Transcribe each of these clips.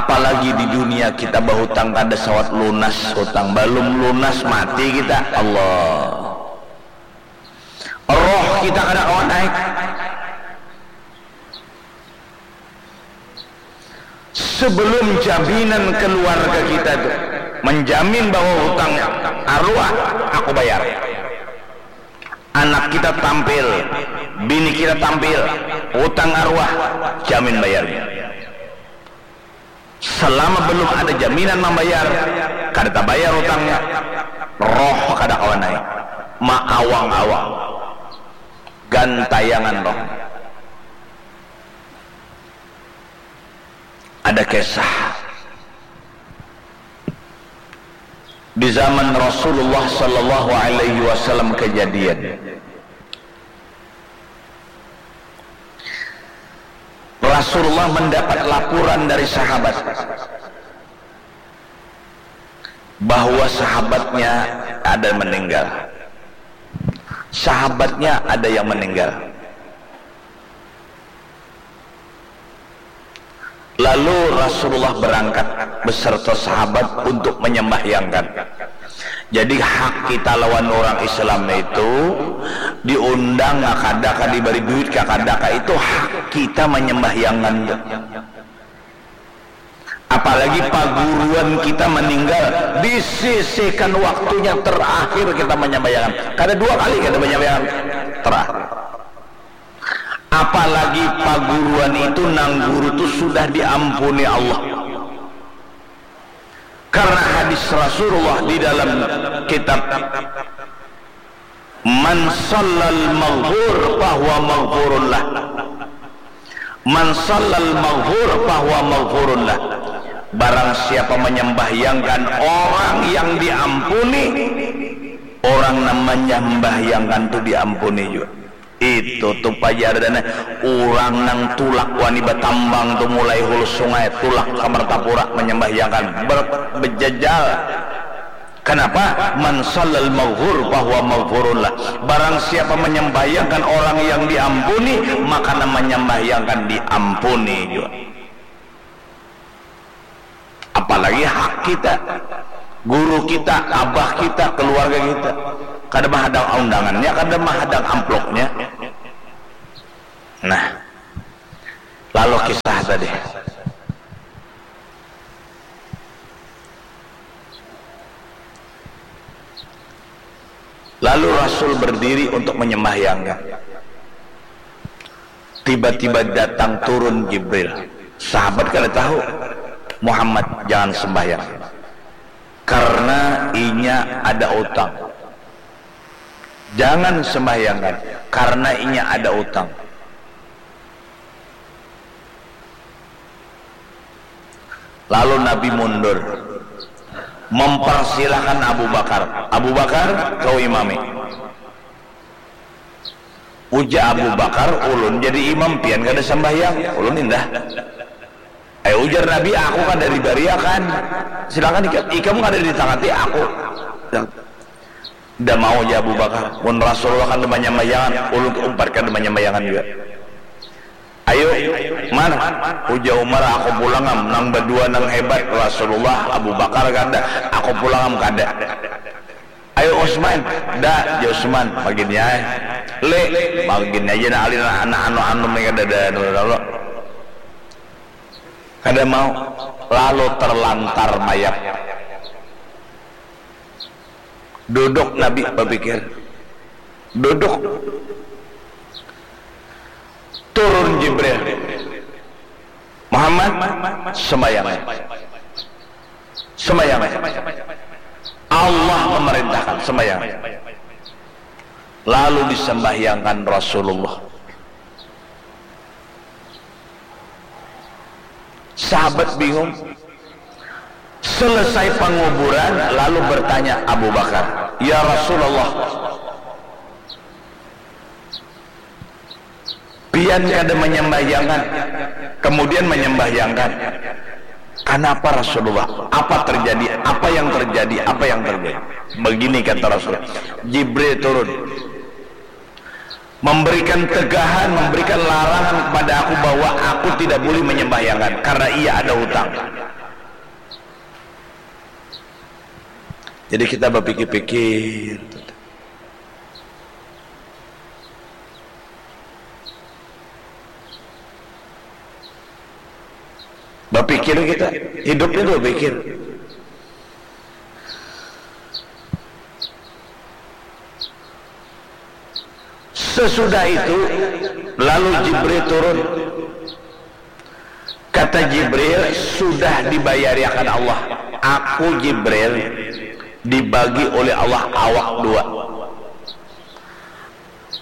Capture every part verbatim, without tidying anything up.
Apalagi di dunia kita bahutang kada sawat lunas hutang, balum lunas mati kita, Allah. Roh kita kada kawa naik. Sebelum jaminan keluarga kita tu menjamin bahwa hutang arwah aku bayar. Anak kita tampil, bini kita tampil, hutang arwah jamin bayarnya. Selama belum ada jaminan membayar, kada tabayar hutangnya, roh kada kawa naik, maawang-awang, gantayangan roh. Ada kisah di zaman Rasulullah sallallahu alaihi wasallam kejadian. Rasulullah mendapat laporan dari sahabat bahwa sahabatnya ada meninggal. Sahabatnya ada yang meninggal. Lalu Rasulullah berangkat beserta sahabat untuk menyembahyangkan. Jadi hak kita lawan orang Islam itu diundang kakadaka, diberi duit kakadaka, itu hak kita menyembahyangkan tu. Apalagi paguruan kita meninggal, disisihkan waktunya terakhir kita menyembahyangkan. Kada dua kali kita menyembahyangkan terakhir. Apalagi paguruan itu nang guru tu sudah diampuni Allah. Karena hadis Rasulullah di dalam kitab, "Man sallal maghfur fahuwa maghfurun lah." "Man sallal maghfur fahuwa maghfurun lah." Barang siapa menyembahyangkan orang yang diampuni, orang nang menyembahyangkan tu diampuni juga. Itu tu pajar dan urang nang tulak wani batambang tu mulai hulu sungai, tulak ka Martapura manyambahyangkan, ber-, bejajal. Kanapa? "Man sallal maghfur fahuwa maghfurun lah." Barang siapa manyambahyangkan orang yang diampuni, maka nang manyambahyangkan diampuni jua. Apalagi hak kita, guru kita, abah kita, keluarga kita. Kada mahadang undangannya, kada mahadang amplopnya. Nah, lalu kisah tadi. Lalu Rasul berdiri untuk menyembahyangkan. Tiba-tiba datang turun Jibril. Sahabat kada tahu, "Muhammad, jangan sembahyang. Karena inya ada utang. Jangan sembahyangkan, karena inya ada utang." Lalu Nabi mundur, mempersilahkan Abu Bakar. "Abu Bakar, kau imami." Ujar Abu Bakar, "Ulun jadi imam, pian kada sambahyang, ulun indah." Ayo ujar Nabi, "Aku kada dibariakan. Silakan ikam, ikam kada ditangati aku." Dah mau ja Abu Bakar, "Mun Rasulullah kada manyambayangan, ulun umpat kada manyambayangan jua." "Ayo, Umar," ujar Umar, "aku pulang am, nang badua nang hebat, Rasulullah, Abu Bakar kada, aku pulang am kada." "Ayo Utsman." "Da," ja Utsman, "magini ai." "Le," magini aja nah, alin anak anu-anu mereka dada anu lalu. Kada mau, lalu terlantar mayat. Duduk Nabi bapikir. Duduk. Turun Jibril. "Muhammad, sembahyang. Sembahyang. Allah memerintahkan, sembahyang." Lalu disembahyangkan Rasulullah. Sahabat bingung. Selesai penguburan, lalu bertanya Abu Bakar, "Ya Rasulullah, pian kada menyembahyangkan, kemudian menyembahyangkan. Kenapa Rasulullah? Apa terjadi? Apa yang terjadi? Apa yang terjadi?" Begini kata Rasulullah, "Jibril turun, memberikan tegahan, memberikan larangan kepada aku bahwa aku tidak boleh menyembahyangkan karena ia ada hutang." Jadi kita bapikir-pikir. Bapikir kita, hidup itu bapikir. Sesudah itu, lalu Jibril turun. Kata Jibril, "Sudah dibayariakan Allah. Aku Jibril dibagi oleh Allah awak dua.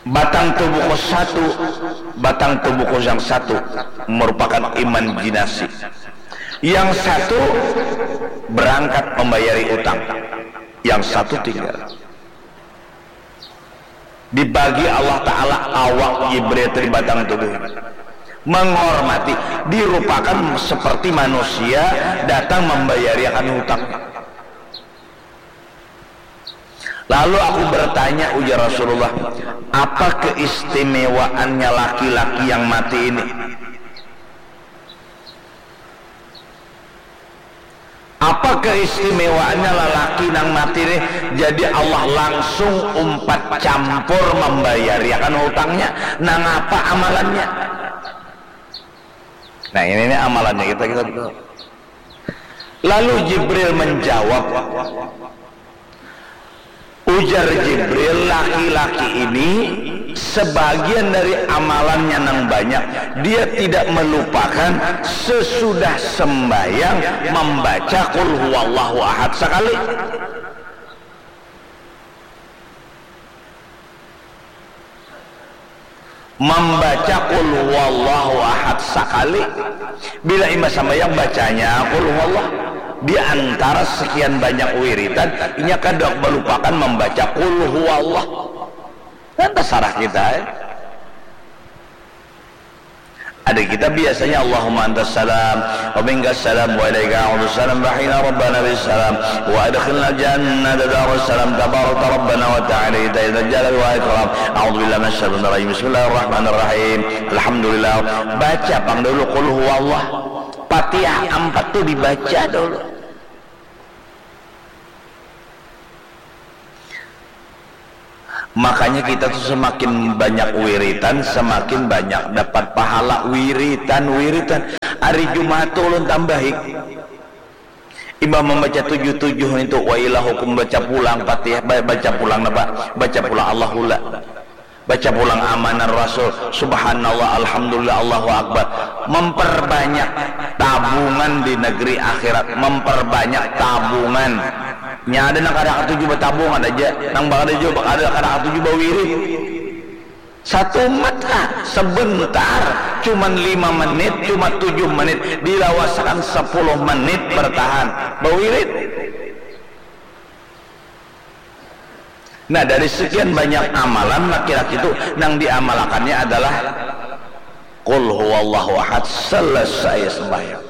Batang tubuhku satu, batang tubuhku yang satu merupakan imajinasi. Yang satu berangkat membayari utang, yang satu tinggal." Dibagi Allah Ta'ala awak Jibril dari batang tubuh. Menghormati, dirupakan seperti manusia datang membayariakan hutang. Lalu aku bertanya, ujar Rasulullah, "Apa keistimewaannya laki-laki yang mati ini?" Apa keistimewaannya lalaki nang mati nih? Jadi Allah langsung umpat campur membayariakan hutangnya. Nang apa amalannya? Nah, ini nih amalannya kita, kita, kita. Lalu Jibril menjawab, ujar Jibril, "Laki-laki ini sebagian dari amalannya nang banyak, dia tidak melupakan sesudah sembahyang membaca Qul Huwallahu Ahad sekali." Membaca Qul Huwallahu Ahad sakali. Bila imbah sambayang bacanya Qul Huwallah. Di antara sekian banyak wiridan, inya kada balupakan membaca Qul Huwallah. Kan tasarah kita, eh. Ada kita biasanya, "Allahumma antas salam, wa minkas salam, wa ilaika a'udus salam, wa hina rabbana bis salam, wa adkhilna jannata darus salam, tabarakta rabbana wa ta'ala, ita ita jalal wa ikram, a'udzu billahi minasy syaitonir rajim, bismillahirrahmanirrahim, alhamdulillah." Baca pang dulu Qul Huwallah. Fatihah ampat tu dibaca dulu. Makanya kita tuh semakin banyak wiritan, semakin banyak dapat pahala wiritan, wiritan. Hari Jumat tuh ulun tambahi. Imbah membaca tujuh tujuh itu, wa ilahukum, baca pulang Fatihah, ba-, baca pulang napa? Baca pulang Allahullah. Baca pulang amanar Rasul, subhanallah, alhamdulillah, Allahu Akbar. Memperbanyak tabungan di negeri akhirat, memperbanyak tabungan. Nya ada nang kada katuju batabung, ada ja nang kada katuju, kada, kada katuju bawirid. Satumat lah, sebentar, cuman lima menit, cuma tujuh menit, dilawasakan sepuluh menit bertahan bawirid. Nah, dari sekian banyak amalan laki-laki tu, nang diamalakannya adalah Qul huwallahu ahad, selesai sembahyang.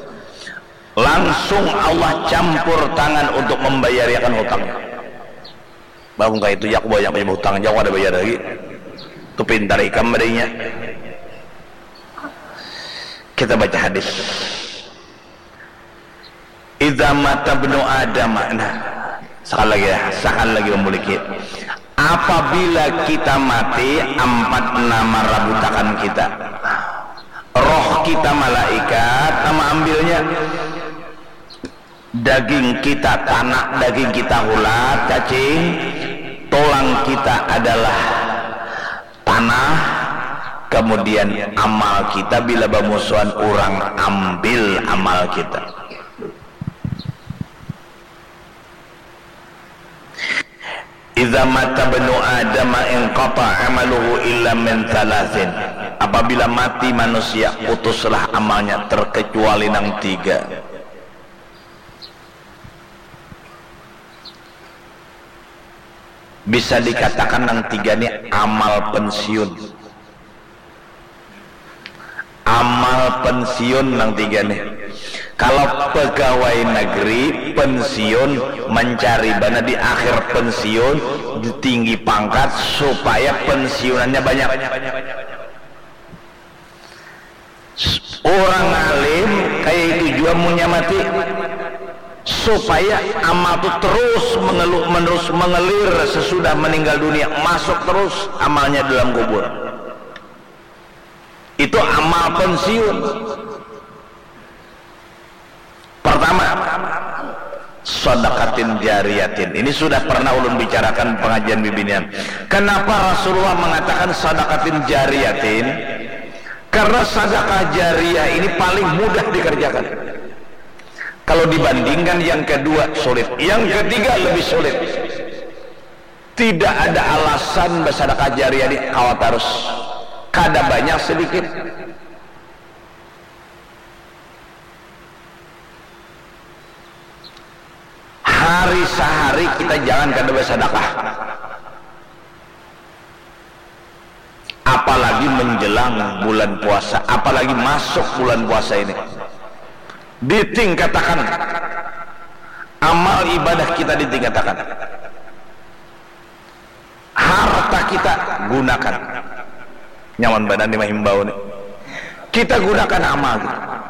Langsung Allah campur tangan untuk membayariakan hutangnya. Bah, mun kaya itu, aku banyak banar hutang, aku kada bayar lagi. Tu pintar ikam badanya. Kita baca hadis. Idza mata ibnu Adam, nah, sakali lagi ya, sakali lagi mamuliki. Apabila kita mati, ampat nang marabutakan kita. Roh kita malaikat nang maambilnya. Daging kita tanak, daging kita hulat, cacing. Tulang kita adalah tanah, kemudian amal kita bila bamusuhan urang ambil amal kita. Idza mata ibnu Adam inqata amaluhu illa min thalathin. Apabila mati manusia, putuslah amalnya terkecuali nang tiga. Bisa dikatakan nang tiga ni amal pensiun. Amal pensiun nang tiga ni. Kalau pegawai negeri pensiun, mencari bana di akhir pensiun, tinggi pangkat supaya pensiunannya banyak. Orang alim kaya itu jua munnya mati. supaya amal tu terus mengelu-, menerus mengelir sesudah meninggal dunia, masuk terus amalnya dalam kubur. Itu amal pensiun. Pertama, sadaqatin jariyatin. Ini sudah pernah ulun bicarakan pengajian bibinian. Kenapa Rasulullah mengatakan sadaqatin jariyatin? Karena sadaqah jariyah ini paling mudah dikerjakan. Kalau dibandingkan yang kedua sulit, yang ketiga lebih sulit. Tidak ada alasan bersadakah jariah ni kawa tarus. Kada banyak sedikit. Hari sehari kita jangan kada bersadakah. Apalagi menjelang bulan puasa, apalagi masuk bulan puasa ini. Ditingkatakan amal ibadah kita, ditingkatakan harta kita, gunakan. Nyaman banar ni mahimbau ni. Kita gunakan amal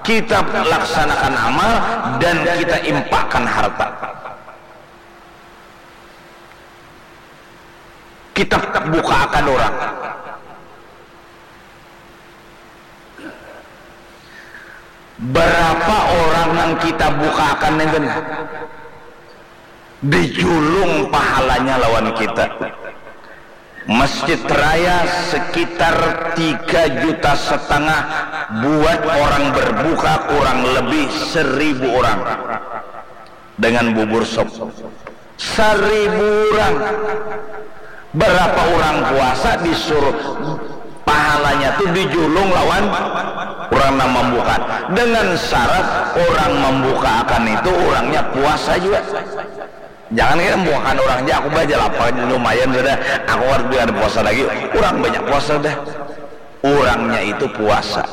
kita. Kita laksanakan amal dan kita impakkan harta. Kita bukakan orang. Berapa orang yang kita bukakan itu dijulung pahalanya lawan kita. Masjid Raya sekitar tiga juta setengah buat orang berbuka, kurang lebih seribu orang dengan bubur sop. Seribu orang. Berapa orang puasa disuruh pahalanya tu dijulung lawan orang nang membuka. Dengan syarat orang membuka akan itu orangnya puasa juga. Jangan kayak membukakan orang aja, aku baca lapar lumayan sudah, aku harus biar puasa lagi. Orang banyak puasa dah. Orangnya itu puasa.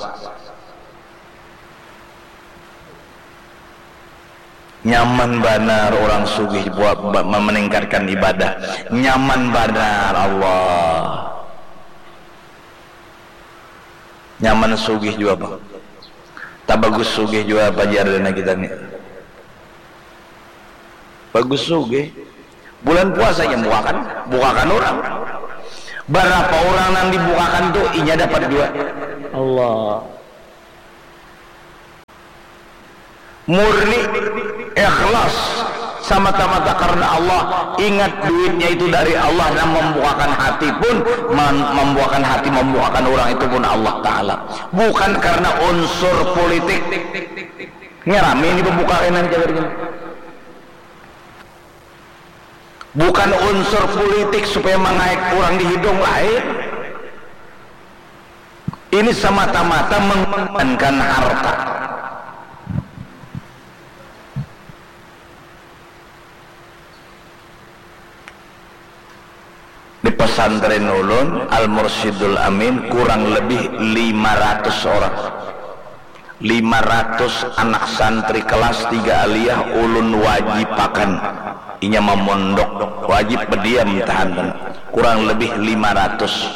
Nyaman banar orang sugih buat meningkatkan ibadah. Nyaman banar Allah. Nyaman sugih juga bang. Tak bagus sugih juga pajar dana kita ni. Bagus sugih. Bulan puasa yang bukakan, bukakan orang. Berapa orang yang dibukakan tu inya dapat juga. Allah. Murni, ikhlas, semata-mata karena Allah. Ingat duitnya itu dari Allah yang membukakan hati pun, membukakan hati, membukakan orang itu pun Allah Ta'ala. Bukan karena unsur politik. Ngerami ini pembuka kainan jaga gini. Bukan unsur politik supaya mangaik urang di hidung, lain. Ini semata-mata mengorbankan harta. Di pesantren ulun, Al Mursyidul Amin, kurang lebih lima ratus orang. Lima ratus anak santri kelas tiga aliyah ulun wajibakan. Inya mamondok, wajib bediam tahan, kurang lebih lima ratus.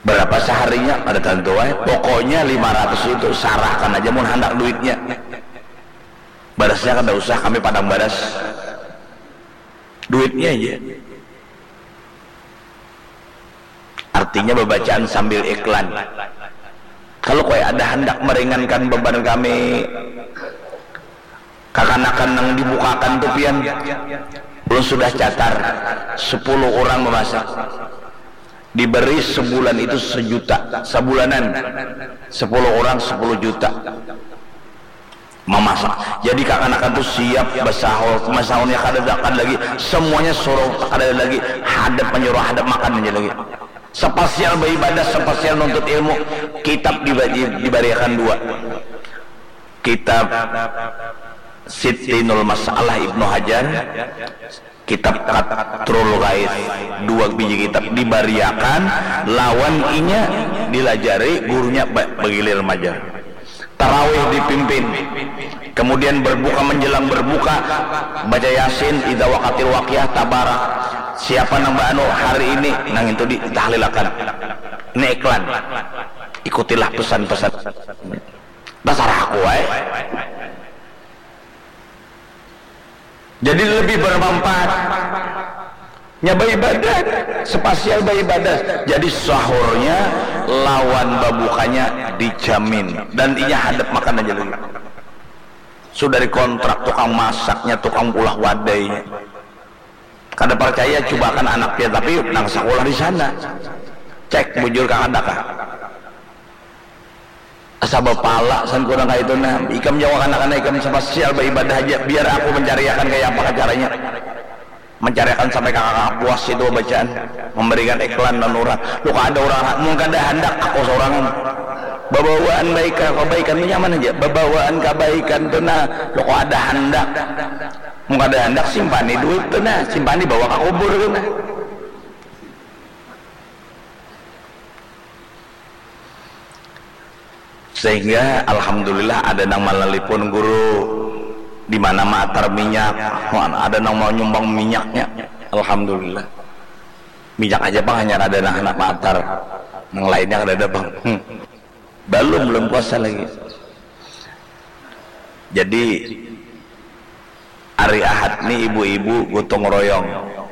Berapa seharinya? Kada tantu ai. Pokoknya lima ratus itu sarahkan aja mun handak duitnya. Barasnya kada usah, kami padang baras. Duitnya aja. Artinya bebacaan sambil iklan. Kalau kaya ada handak meringankan beban kami, kakanakan nang dibukakan tu pian, ulun sudah catat, sepuluh orang memasak. Diberi sebulan itu sejuta, sebulanan, sepuluh orang sepuluh juta. Memasak. Jadi kakanakan tu siap basahur, masahurnya kada dakan lagi, semuanya suruh kada lagi, hadap menyuruh hadap makan aja lagi. Sepasial beribadah, sepasial nuntut ilmu, kitab dibagi, dibariakan dua. Kitab Sittinul Masalah Ibnu Hajar, kitab Qatrul Ghaith, dua biji kitab dibariakan lawan inya dilajari gurunya ba-, bagilir majar. Tarawih dipimpin, kemudian berbuka, menjelang berbuka baca Yasin, idza waqatil waqiah, tabarak. Siapa nang baanu hari ini, nang itu ditahlilakan. Ini iklan. Ikutilah pesan-pesan. Dasar aku ai. Jadi lebih bermanfaat nya baibadah, spasial baibadah. Jadi sahurnya lawan babukanya dijamin dan inya hadap makan aja lagi. Sudah dikontrak tukang masaknya, tukang ulah wadainya. Kada percaya, cubakan anaknya, tapi nang sakulah di sana. Cek bujur kah kada kah. Asa bapala san kurang kaitu nah. Ikam jauh anak-anak ikam spasial baibadah haja, biar aku mancariakan kaya apa caranya. Mancariakan sampai kakak puas itu bacaan, memberikan iklan dan orang. Lu kada orang, mun kada handak aku seorang babawaan baik kebaikan tu nyaman aja. Babawaan kebaikan tu nah, lu kada handak. Mun kada handak, simpani duit tu nah, simpani bawa ke kubur tu nah. Sehingga alhamdulillah ada nang malalipun guru di mana maatar minyak, ada nang mau nyumbang minyaknya, alhamdulillah. Minyak aja pang hanyar ada nang handak maatar, nang lainnya kada ada pang. Hmm. Balum, balum puasa lagi. Jadi hari Ahad ni ibu-ibu gotong royong,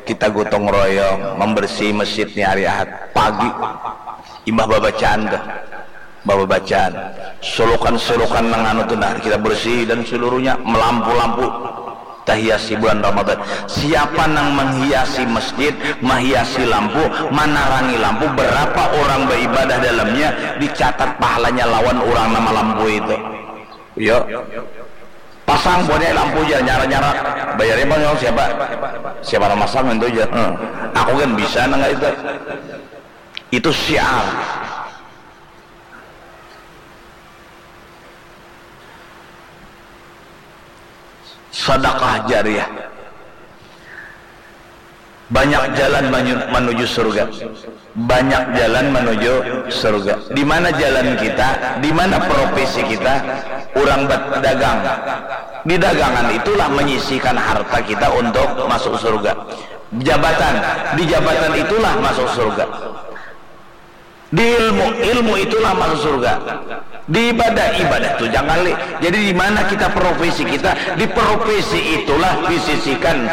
kita gotong royong membersihi masjid ni hari Ahad pagi. Imbah babacaan tuh, imbah babacaan, sulukan-sulukan nang anu tuh nah kita bersihi dan seluruhnya, melampu-lampu tahiasi bulan Ramadan. Siapa nang menghiasi masjid, menghiasi lampu, manarangi lampu, berapa orang beribadah dalamnya, dicatat pahalanya lawan orang nama lampu itu. Yo. Pasang buatnya lampu aja, nyara-nyara. Bayarnya bang siapa? Siapa nama masang itu aja. Hmm. Aku kan bisa nang itu. Itu syiar. Sedekah jariah. Banyak jalan menuju surga. Banyak jalan menuju surga. Di mana jalan kita, di mana profesi kita, orang berdagang. Di dagangan itulah menyisihkan harta kita untuk masuk surga. Jabatan, di jabatan itulah masuk surga. Di ilmu, ilmu itulah masuk surga. Di ibadah, ibadah tu jangan li. Jadi di mana kita profesi kita, di profesi itulah disisihkan.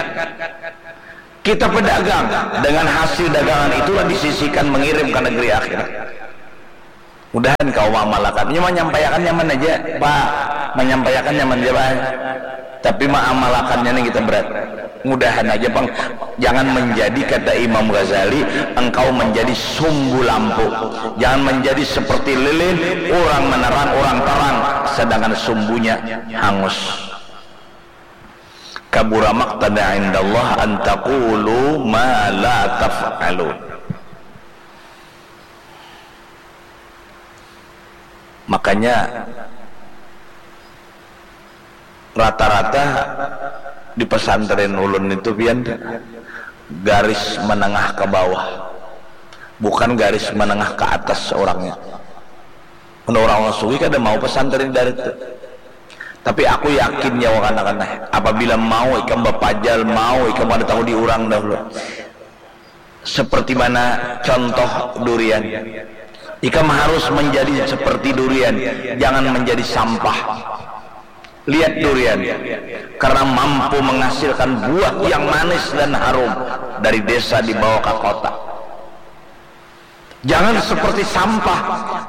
Kita pedagang, dengan hasil dagangan itulah disisihkan mengirim ke negeri akhirat. Mudahan kau mengamalkan. Ini menyampaikan nyaman aja, Pak. Menyampaikan nyaman aja, Pak. Tapi mengamalkannya nih kita berat. Mudahan aja pang, jangan menjadi kata Imam Ghazali, engkau menjadi sumbu lampu. Jangan menjadi seperti lilin, orang menerang, orang terang, sedangkan sumbunya hangus. Kabura maqtan indallah an taqulu ma la taf'alun. Makanya rata-rata di pesantren ulun itu pian garis menengah ke bawah, bukan garis menengah ke atas orangnya. Mun orang sugih kada mau pesantren dari itu. Tapi aku yakin ya wakana-kana, apabila mau ikam bapajal, mau ikam kada tahu di urang dahulu. Seperti mana contoh durian. Ikam harus menjadi seperti durian, jangan menjadi sampah. Lihat durian, karena mampu menghasilkan buah yang manis dan harum dari desa dibawa ke kota. Jangan seperti sampah,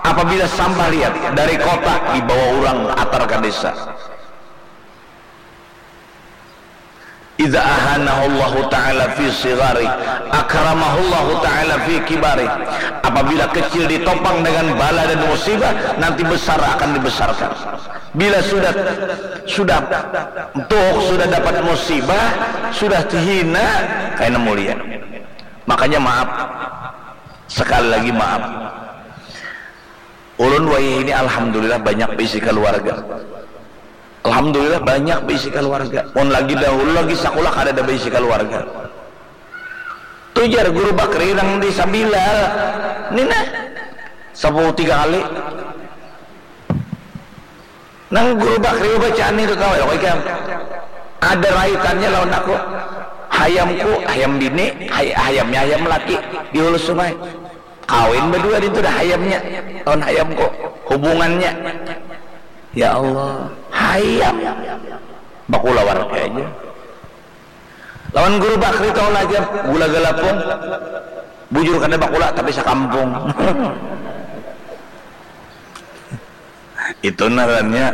apabila sampah lihat dari kota dibawa orang atar ke desa. Idza ahanahullahu ta'ala fi sigari, akramahullahu ta'ala fi kibari. Apabila kecil ditopang dengan bala dan musibah, nanti besar akan dibesarkan. Bila sudah sudah tuh sudah dapat musibah, sudah hina, kaina mulia. Makanya maaf. Sekali lagi maaf. Ulun wayah ini alhamdulillah banyak bisi keluarga. Alhamdulillah banyak bisi keluarga. Mun lagi dahulu lagi sakulah kada ada bisi keluarga. Tujar guru Bakri nang di Sabilal. Ini nah. Sepuluh tiga kali. Nang guru Bakri bacaan itu tahu ya kau ikam. Ada raitannya lawan aku. Hayamku, hayam bini, hay, hayamnya hayam laki di hulu sungai. Kawin berdua itu dah hayamnya lawan hayamku. Hubungannya. Ya Allah, hayam. Bakulawar aja. Lawan guru bakri tahu aja, gula galapung. Bujur kada bakula tapi sakampung. Itu ngarannya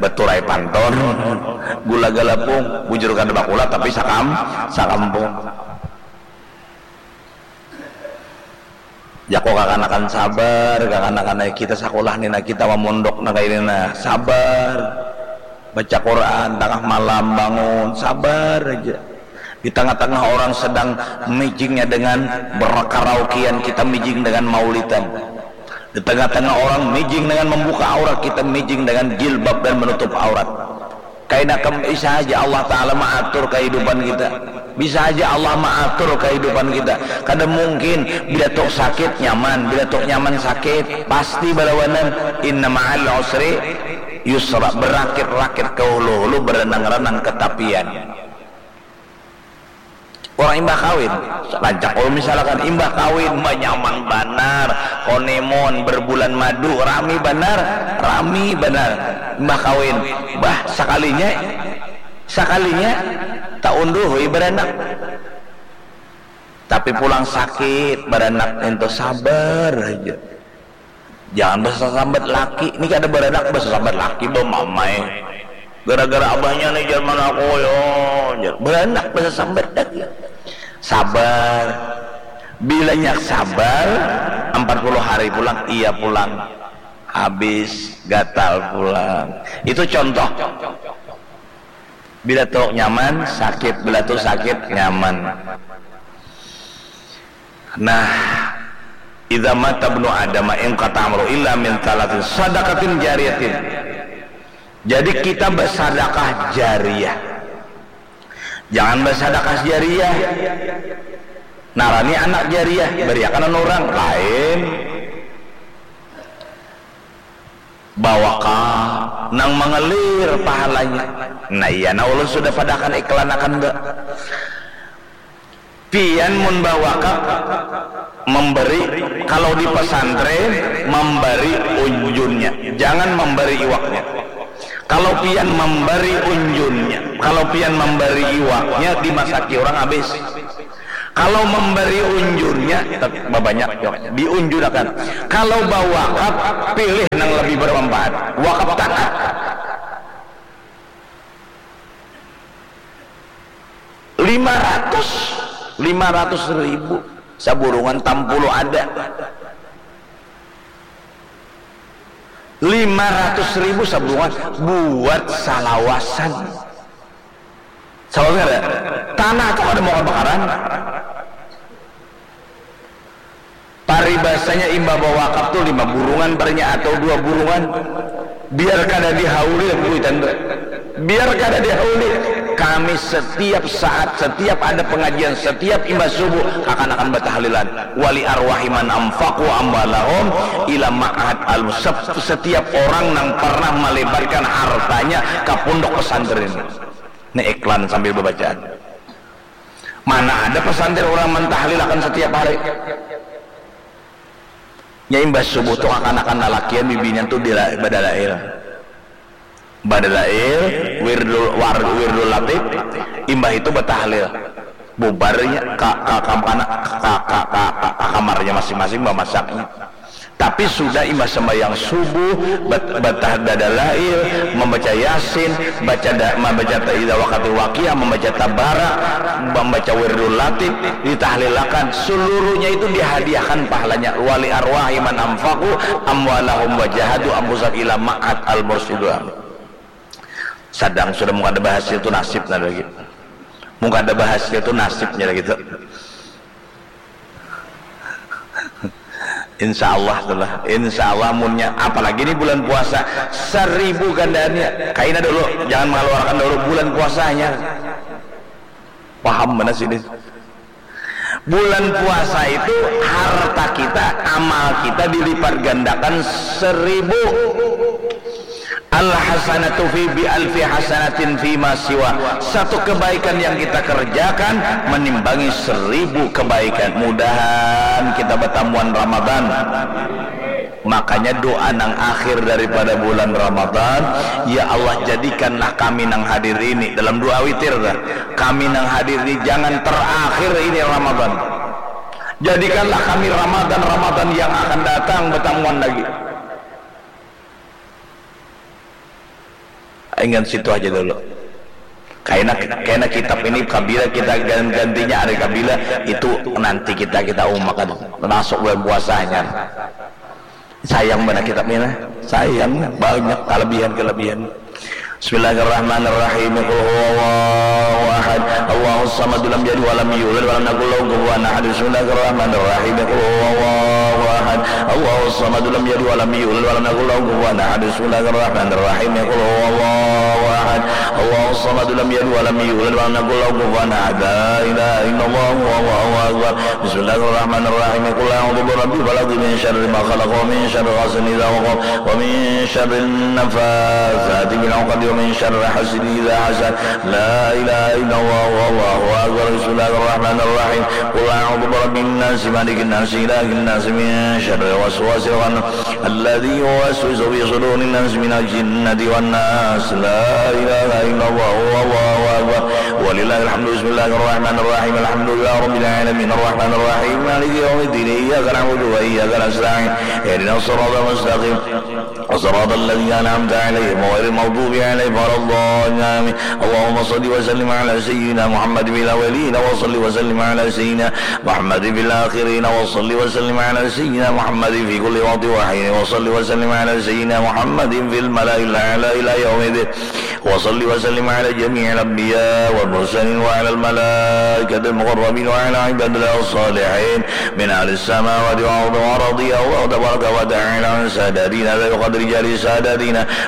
baturai pantun. Gula galapung, bujur kada bakula tapi sakam sakampung. Jako kakanakan sabar, kakanakan ai kita sakulah ni nah, kita mamondok nah kaini nah, sabar. Baca Quran tangah malam bangun, sabar aja. Di tangah-tangah orang sedang mijingnya dengan berkaraokean, kita mijing dengan maulidan. Di tengah-tengah orang mijing dengan membuka aurat, kita mijing dengan jilbab dan menutup aurat. Kaina kam bisa aja Allah Ta'ala maatur kehidupan kita. Bisa aja Allah maatur kehidupan kita. Kada mungkin bila tok sakit nyaman, bila tok nyaman sakit, pasti balawanan. Inna ma'al usri yusra, berakit-rakit ke hulu-hulu, berenang-renang ke tapian. Orang imbah kawin, rancak kalau misalkan imbah kawin, banyaman banar, honeymoon, berbulan madu, rami banar, rami banar. Imbah kawin, bah, sakalinya, sakalinya, tak unduh, hui, beranak. Tapi pulang sakit, beranak itu sabar aja. Jangan basasambat laki. Ni kada baranak basasambat laki, bamamai. Gara-gara abahnya ni, jar, mana aku, yo, jar. Baranak basasambat lagi. Sabar. Bilanya sabar, empat puluh hari pulang, iya pulang. Habis gatal pulang. Itu contoh. Bila tu nyaman, sakit, bila tu sakit, nyaman. Nah, idza mata ibnu Adam inqata amaluhu illa min thalathin, sadaqatin jariyatin. Jadi kita bersadakah jariah. Jangan bersadakah jariah. Narani anak jariah, beriakan orang lain. Bawakaf nang mangalir pahalanya. Nah, iya, nah, ulun sudah padakan iklanakan, Mbak. Pian mun bawakaf memberi, kalau di pesantren, memberi unjunnya, jangan memberi iwaknya. Kalau pian memberi unjunnya, kalau pian memberi iwaknya, dimasaki orang habis. Kalau memberi unjunnya, tet-, babanyak jua, diunjunakan. Kalau bawakaf, pilih nang lebih bermanfaat. Wakaf tanah. Lima ratus, lima ratus ribu. Saburungan tampulu ada. Lima ratus ribu saburungan buat salawasan. Salawasan ada. Tanah tu kada mau kabakaran. Paribasanya imbah bawakaf tu lima burungan parinya atau dua burungan. Biar kada dihauli lah kuitan tu. Biar kada dihauli. Kami setiap saat, setiap ada pengajian, setiap imbah subuh, akan akan batahlilan. Wali arwahi man anfaqu amwalahum ila ma'had al, sep-, setiap orang nang pernah melebarkan hartanya ke pondok pesantren. Ini iklan sambil bacaan. Mana ada pesantren orang mentahlilakan setiap hari. Nya imbah subuh tu kakanakan lalakian bibinian tu dila-, badalail. Badalail, wirdul, war-, wirdul latif, imbah itu batahlil. Bubarnya ka, ka, kampana, ka, ka, ka, ka, ka kamarnya masing-masing bamasaknya. Tapi sudah imbah sembahyang subuh, bat-, batah dadalail, membaca Yasin, baca da-, membaca ta-, idza waqatil waqiah, membaca Tabara, membaca wirdul latif, ditahlilakan, seluruhnya itu dihadiahkan pahalanya. Wali arwahi man anfaqu amwalahum wa jahadu anfusahum ila ma'had al mursyidul amin. Sadang sudah mun kada bahasil tu nasib nah lagi. Mun kada bahasil tu nasibnya lagi tu. Insya Allah tu lah. Insya Allah munnya, apalagi ni bulan puasa, seribu gandaannya. Kaina dulu, jangan mengeluarkan dulu bulan puasanya. Paham mana sini? Bulan puasa itu harta kita, amal kita dilipat gandakan seribu. Al hasanatu fi bi alfi hasanatin fi ma siwa. Satu kebaikan yang kita kerjakan menimbangi seribu kebaikan. Mudahan kita bertamuan Ramadan. Makanya doa nang akhir daripada bulan Ramadan, ya Allah, jadikanlah kami nang hadir ini, dalam doa witir dah, kami nang hadir ini jangan terakhir ini Ramadan. Jadikanlah kami Ramadan-Ramadan yang akan datang batamuan lagi. Ingat situ aja dulu. Kaina kaina kitab ini kabila kita gantinya hari kabila itu nanti kita kita umakan masuk bulan puasanya. Sayang mana kitab ini. Sayang banyak kelebihan-kelebihan. Bismillahirrahmanirrahim. Qul huwallahu ahad. Allahus samad lam yalid walam yulad walam yakul lahu kufuwan ahad. Bismillahirrahmanirrahim. Qul huwallahu ahad. Allahus samad lam yalid walam yulad walam yakul lahu kufuwan ahad. Bismillahirrahmanirrahim. Qul huwallahu ahad. Allahus samad lam yalid walam yulad walam yakul lahu kufuwan ahad. La ilaha illallah wallahu akbar. Bismillahirrahmanirrahim. Qul a'udzu birabbil falaq, min syarri ma khalaq, wa min syarri ghasidin idza waqab, wa min syarri nafatsati fil 'uqad, wa min syarri hasidin idza hasad. La ilaha illallah wallahu akbar. Bismillahirrahmanirrahim. Qul a'udzu birabbin nas, malikin nas, ilahin nas, min syarril waswasil khannas, alladzi yuwaswisu fi sudurin nas, minal jinnati wan nas. La ilaha illallah wallahu akbar. Walillahil hamdu. Bismillahirrahmanirrahim. Alhamdulillahi rabbil alamin. Arrahmanirrahim. Maliki yaumiddin. Iyyaka na'budu wa iyyaka nasta'in. Ihdinas siratal mustaqim. Siratal ladzina an'amta 'alaihim ghairil maghdubi 'alaihim waladdallin. Amin. Allahumma shalli wa sallim 'ala sayyidina Muhammad fil awwalin wa shalli wa sallim 'ala sayyidina Muhammad fil akhirin wa shalli wa sallim 'ala sayyidina Muhammad fi kulli waqtin wa hin wa shalli wa sallim 'ala sayyidina Muhammad fil mala'il a'la ila yaumiddin. Wa shalli wa sallim 'ala jami'il anbiya wal mursalin wa 'alal malaikatil muqarrabin wa 'ala ibadillah as-salihin min ahlis samawati wal ardi wa radiyallahu tabaraka wa ta'ala an sadatina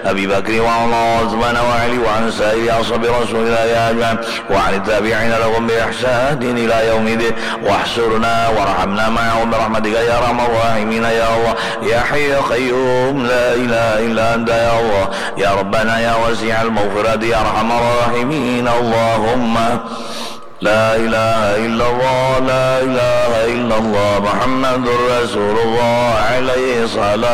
Abi Bakri wa Umar wa Utsman wa Ali wa an sa'iri ashabi Rasulillah ajma'in wa an tabi'ina lahum bi ihsanin ila yaumiddin. Wahsyurna warhamna ma'ahum bi rahmatika ya arhamar rahimin ya Allah ya hayyu ya qayyum la ilaha illa anta ya Allah ya Rabbana ya wasi'al maghfirati ya arhamar rahimin. Allahumma la ilaha illallah, la ilaha illallah, Muhammadur Rasulullah, alaihi salam.